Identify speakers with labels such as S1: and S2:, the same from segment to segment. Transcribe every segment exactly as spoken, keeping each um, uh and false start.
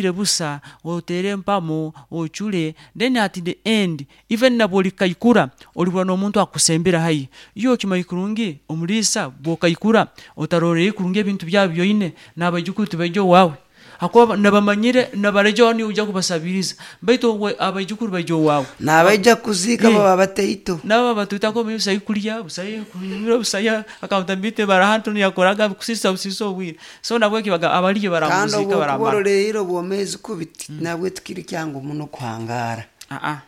S1: Busa otere empamo ocule. Then at the end, even nabwolikaikura, olibura n'omuntu akusembera haihi. Iwe okimanyi kurungi omuliisa bwokaikura otarorere kurungi ebintu byawe byoine, n'abaijukuru tibaija owaawe, hakuba nabamanyire nabareja niiwe oija kubasabiriza, baitu obwe abaijukuru baija owaawe.
S2: Nabaija kuziika baba bataito.
S1: Nabo batwitako busayo kulya, busayo kunywa, busayo accountability, barahantu yakoraga kusisa busisa obwire. So nabweki abaliyo
S2: Kandi
S1: baramuzika
S2: obwokuba
S1: baramara.
S2: orolerire obwomeezi kubi, nabwe tikiri kyangu muno kuhangaara.
S1: Aa,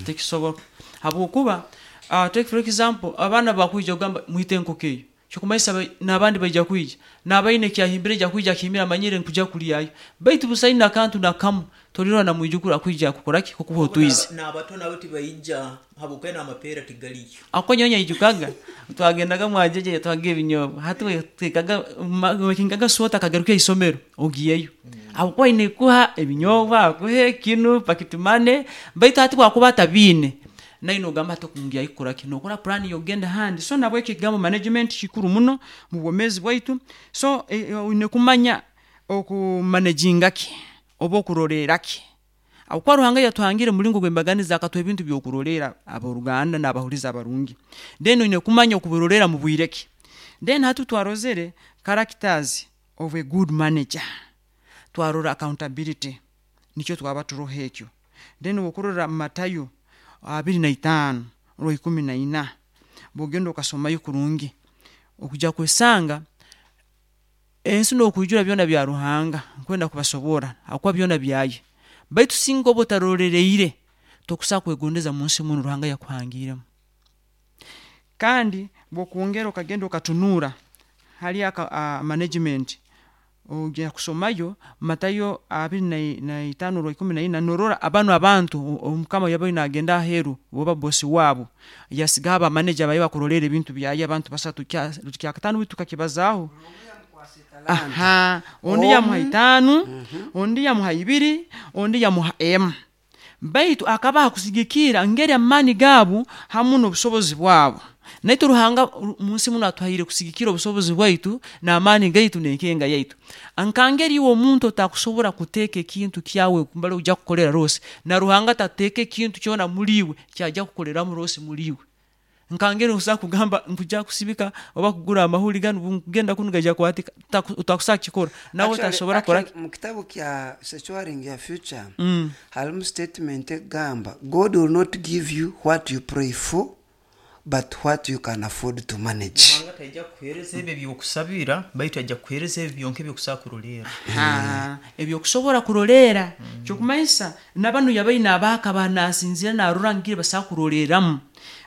S1: tekisoboka, habwokuba uh, take for example, abaana bakwija kugamba mwite enkoko eyo, kyokumanyisa n'abandi baija kwija, n'abaine ekyahimbire aija kwija akihimbire amanyire nkuja kulyayo, baitu busayo nakantu nakamu tolirora na mwijukuru akwija kukoraki, kukuha otwizi.
S3: N'abato nabo tibaija habwokuba n'amapeera tigaliyo.
S1: Ako nyowe nyijukaga twagendaga mwajeje, yatwaga ebinyobwa. Hati twekaga makingaga swota akagaruka isomero ogiyeyo, habwokuba aine kuha ebinyobwa, akuhe kinu pocket money, baitu hati bwakuba atabiine naye nogamba hati okungyayo kukoraki, nokora plan yokugenda ahandi. So nabweki ekigambo management kikuru muno mu bwomeezi bwaitu. So oine kumanya okumanaginga ki oba okurolerra ki, habwokuba Ruhanga yatuhangire mumuringo gwembaganiza, akatuha ebintu byokurolerra, aboruganda nabahulizi abarungi. Then oine kumanya okubirolerra mubwire ki. Then hati twarozere characters of a good manager, twarora accountability, nikyo twaba turoho ekyo. Then obu okurora Matayo abiri naitaano orwa ikumi naina, bwogenda okasomayo kurungi, okujya kwesanga ensi nokwijura byona bya Ruhanga. Nkwenda kubasoborra habwokuba byona byaye, baitu singa oba otaroleriire, tokusobola kwegondeza munsi munu Ruhanga yakuhangiremu. Kandi bwokwongera okagenda okatunuura hali aka management, ogenda kusomayo Matayo abiri naitaano orwa ikumi naina, norora banu abantu omukama yabaire nagenda aheeru oba boss waabo yasigaho aba manager baye bakurolerra ebintu byaye, abantu basatu. Kyakataano baitu tukakibazaaho, ondi yamuha itaano, ondi yamuha ibiri, ondi yamuha emu, baitu akabaha kusigikiirra ngeri amaani gaabo hamu n'obusobozi bwabo. Naitwe Ruhanga munsi munu atuhaire kusigikiirra obusobozi bwaitu n'amaani gaitu n'enkenga yaitu. Nkangeri iwe omuntu otakusobora kuteeka ekintu kyawe mbali ojya kukolera loss, na Ruhanga tateeka ekintu kyoona muli iwe ekyajya kukoleramu loss muli iwe. Nkangeri osobola kugamba nkujya kusibika oba kugura amahuri ganu, obungugenda kunu nigaija kwatika, tokusobola kukikora, nawe tasobora kukoraki.
S2: Mu kitabu kya Securing Your Future harimu statement ekugamba, "God will not give you what you pray for, but what you can afford to manage."
S3: Ruhanga taija kukuheereza ebyo ebyokusabira, baitu ajja kukuheereza ebyo byonka ebyokusobola kurolerra.
S1: Ebyokusobora kurolerra, kyokumanyisa nabanu yabaire nabaha nasinziira narora ngeri basobola kurolerramu.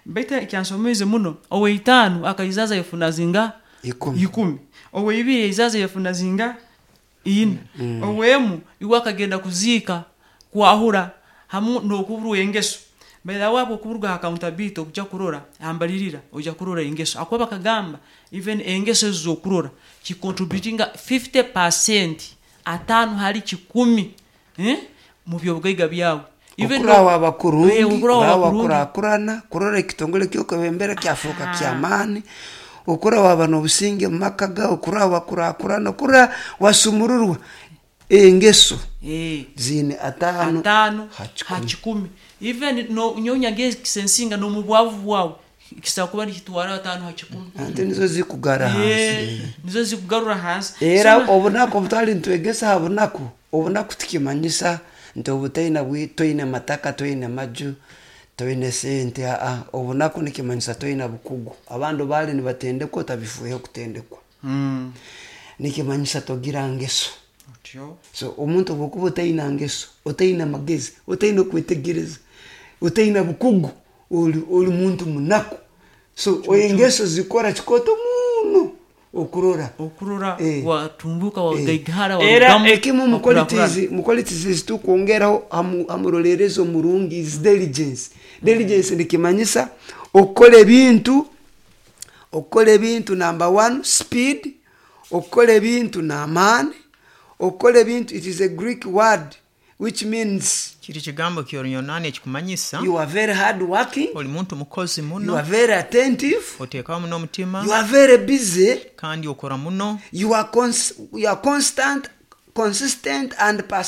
S1: Baitu ekyansomiize muno, oweitaano akaizaza yafuna zingaha?
S2: Ikumi.
S1: Ikumi. Oweibiri yaizaza yafuna zingaha? Ina. Owemu iwe akagenda kuziika kwahura hamu n'okuburwa engeso. By the way, obukuruga ha accountability okujya kurora hambalirira, ojya kurora engeso, habwokuba bakagamba even engeso ezi zokurora kicontributinga fifty percent, ataano hali kikumi, mu byobugaiga byawe.
S2: Okura waba kurungi, okura wakurakurana, kurora ekitongole kyokwebembera kyafuuka kyamaani, okura waba n'obusinge mu maka gawe, okura wakurakurana, okura wasumururwa, engeso ziine ataano
S1: ataano
S2: ha
S1: ha
S2: kikumi.
S1: Kikumi. Even no nyowe nyagekisensinga n'omubwavu bwawe kisobola kuba nikitwara ataano ha kikumi.
S2: Ante nizo zikugara hansi.
S1: Nizo zikugarura hansi.
S2: Era obunaku obutwali nitwegesa ha bunaku, obunaku tikimanyisa nti obu toine toine mataka, toine maju, toine sente. Aa, obunaku nikimanyisa toine bukugu, abandi baali nibatendekwa otabifuuhe kutendekwa, nikimanyisa togira ngeso. So omuntu obwokuba otaine ngeso, otaine magezi, otaine kwetegereza, otaine bukugu, oli oli muntu munaku. So engeso zikora kikooto muno okurora
S1: okurora watumbuka, wagaigahara.
S2: Era ekimu mu qualities mu qualities ezitukwongeraho hamurolerezi omurungi is diligence. Diligence nikimanyisa okukora ebintu okukora ebintu number one, speed, okukora ebintu n'amaani, okukora ebintu. It is a Greek word which means
S3: kiri kigambo ky'Oruyonaani ekikumanyisa
S2: you are very hard working,
S3: oli muntu mukozi
S2: you
S3: muno,
S2: are very attentive,
S3: oteekaho muno omutima,
S2: you are very busy,
S3: kandi okora muno,
S2: you are, cons- you are constant Consistent and persistent.